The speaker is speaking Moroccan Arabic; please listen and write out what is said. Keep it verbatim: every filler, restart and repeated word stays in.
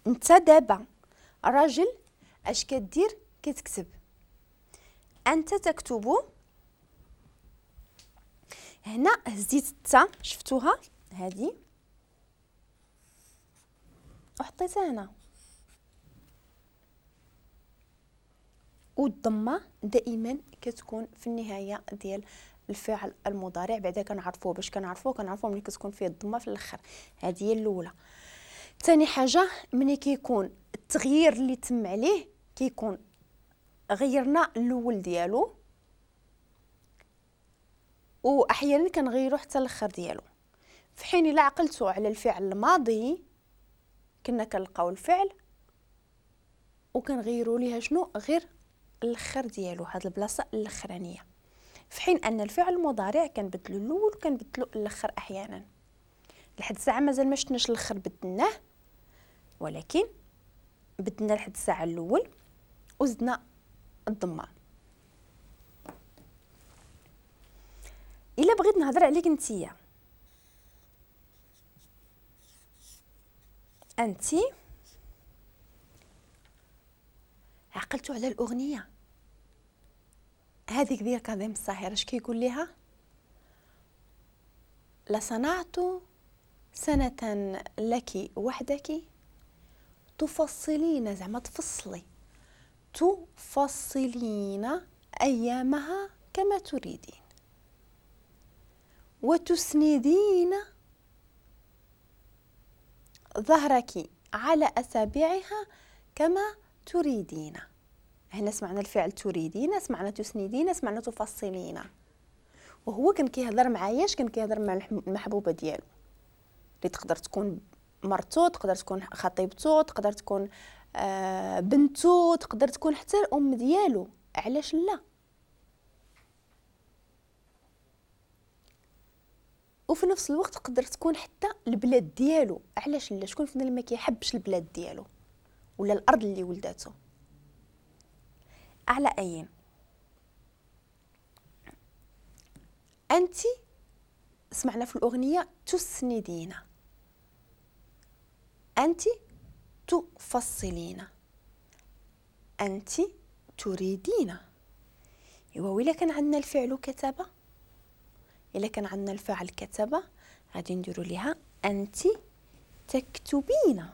انت دابا راجل اش كدير؟ كتكتب. انت تكتب. هنا هزيت التا، شفتوها هذه وحطيتها هنا، والضمه دائما كتكون في النهاية ديال الفعل المضارع. بعدا كنعرفوه، باش كنعرفوه كنعرفوه ملي كتكون فيه الضمة في الاخر. هذه هي الاولى. ثاني حاجة ملي كيكون التغيير اللي تم عليه كيكون غيرنا الاول ديالو، واحيانا كنغيرو حتى الاخر ديالو. في حين الا عقلتو على الفعل الماضي كنا كنلقاو الفعل وكنغيروا ليها شنو؟ غير الاخر ديالو، هاد البلاصة الاخرانية. في حين ان الفعل المضارع كنبدلو الاول وكنبدلو الاخر احيانا. لحد الساعة مازال ما شفناش الاخر بدلناه، ولكن بدلنا لحد الساعة الاول وزدنا الضمة. الا بغيت نهضر عليك نتيا، انتي عقلتو على الاغنية هذيك ديال كاظم الساهر، اش كيقول ليها؟ لصنعت سنة لك وحدك تفصلين، زعما تفصلي، تفصلين ايامها كما تريدين وتسندين ظهرك على أسابيعها كما تريدين. هنا سمعنا الفعل تريدين، سمعنا تسندين، سمعنا تفصلين. وهو كان كيهضر معايا، اش كان كيهضر مع المحبوبة ديالو اللي تقدر تكون مرتو، تقدر تكون خطيبتو، تقدر تكون آه بنتو، تقدر تكون حتى الام ديالو. علاش لا؟ وفي نفس الوقت تقدر تكون حتى البلاد ديالو. علاش لا؟ شكون فينا اللي ما كيحبش البلاد ديالو ولا الارض اللي ولداتو؟ على اين انت سمعنا في الاغنية تسندين، انت تفصلين، انت تريدين. ايوا وإلا كان عندنا الفعل كتب، الا كان عندنا الفعل كتب غادي نديرو ليها انت تكتبين.